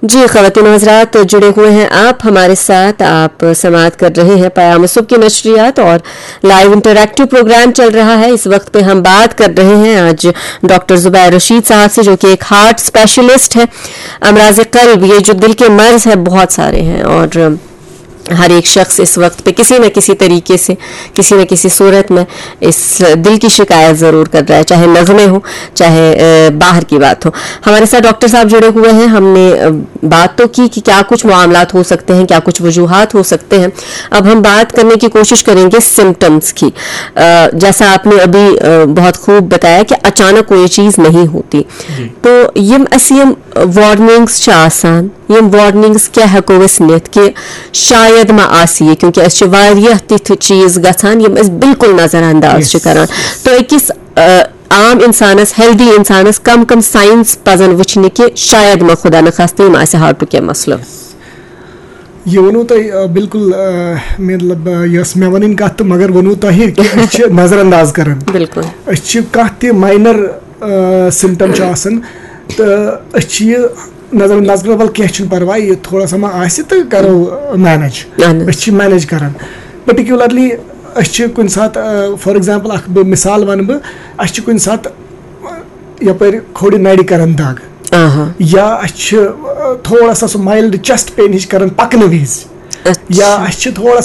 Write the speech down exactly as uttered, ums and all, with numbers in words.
جی، خواتین و حضرات، جڑے ہوئے ہیں آپ ہمارے ساتھ، آپ سماعت کر رہے ہیں پیام صبح کی نشریات اور لائیو انٹریکٹیو پروگرام چل رہا ہے۔ اس وقت پہ ہم بات کر رہے ہیں آج ڈاکٹر زبیر رشید صاحب سے، جو کہ ایک ہارٹ اسپیشلسٹ ہے۔ امراض قلب، یہ جو دل کے مرض ہے، بہت سارے ہیں اور ہر ایک شخص اس وقت پہ کسی نہ کسی طریقے سے، کسی نہ کسی صورت میں اس دل کی شکایت ضرور کر رہا ہے، چاہے نظمیں ہو، چاہے باہر کی بات ہو۔ ہمارے ساتھ ڈاکٹر صاحب جڑے ہوئے ہیں، ہم نے بات تو کی کہ کیا کچھ معاملات ہو سکتے ہیں، کیا کچھ وجوہات ہو سکتے ہیں۔ اب ہم بات کرنے کی کوشش کریں گے سمٹمز کی۔ جیسا آپ نے ابھی بہت خوب بتایا کہ اچانک کوئی چیز نہیں ہوتی۔ تو یم اسی یم وارننگز چھ آسان، یم وارننگز کیا ہیکو اس نتھ کہ شاید ما آسی یہ، کیونکہ اس چھ واریاہ تتھ چیز گژھان یم اس بالکل نظر انداز چھ کران۔ تو اکس عام انسانس، ہیلدی انسانس کم کم سائنس پزن وچھنہِ کہ شاید ما خدا نخواستہ یم آسہِ ہارٹُک کینٛہہ مسلہٕ۔ یہ ونو تۄہہِ بالکل، مطلب، یۄس مےٚ ونٕنۍ کتھ تہٕ مگر ونو تۄہہِ کہ أسۍ چھِ نظر انداز کران۔ بالکل۔ أسۍ چھِ کانٛہہ تہِ ماینر سمٹم چھُ آسان تہٕ أسۍ چھِ یہِ نظر انداز کران، ول کینٛہہ چھُنہٕ پرواے، یہِ تھوڑا سا ما آسہِ تہٕ کرو مینج۔ اہن حظ۔ أسۍ چھِ مینج کران۔ پٔٹِکیوٗلرلی أسۍ چھِ کُنہِ ساتہٕ، فار ایگزامپل، اکھ بہٕ مثال ونہٕ بہٕ، اَسہِ چھِ کُنہِ ساتہٕ یپٲرۍ کھوڑِ نرِ کران دگ، آہا۔ یا اَسہِ چھِ تھوڑا سا سُہ مایلڈ چیسٹ پین ہِش کران پکنہٕ وِزِ، اچھا۔ یا اَسہِ چھِ تھوڑا سا